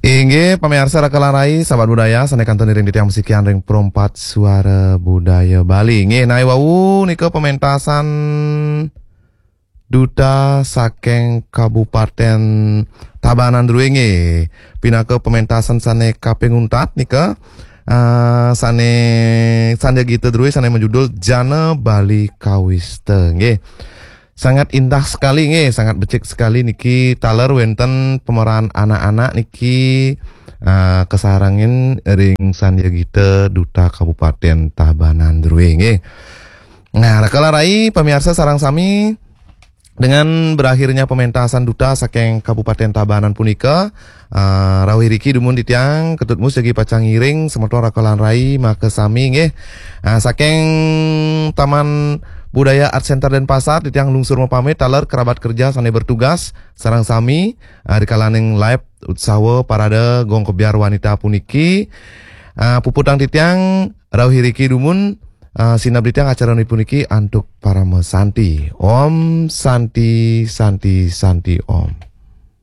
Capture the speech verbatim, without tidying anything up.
Inggih, pamiarsa Raka lan Rai, sahabat budaya, sané kantun iring titiang masikian ring Perempat Suara Budaya Bali. Inggih, naé wau nika pementasan Duta saking Kabupaten Tabanan Drué, inggih. Pinaka pementasan sané kaping untat nika, eh, sané Sandya Gita Drué sané majudul Jana Bali Kawista, inggih. Sangat indah sekali, inggih, sangat becik sekali niki, taler wénten pemeran anak-anak niki, eh, kasarengin ring Sandya Gita Duta Kabupaten Tabanan Drué, inggih. Nah, Raka lan Rai, pamiarsa sareng sami, dengan berakhirnya pementasan Duta saking Kabupaten Tabanan punika, eh, rauh iriki dumun titiang Ketut Mus jagi pacang ngiring semeton Raka lan Rai makasami, inggih. Eh, saking Taman Budaya Art Center Denpasar, titiang lungsur mapamit, taler kerabat kerja sané bertugas sareng sami, eh, rikalaning live Utsawa Parade Gong Kebyar Wanita puniki. Eh, puputang titiang rauh iriki dumun, eh, sineb titiang acara puniki antuk parama santi. Om Santi, Santi, Santi Om.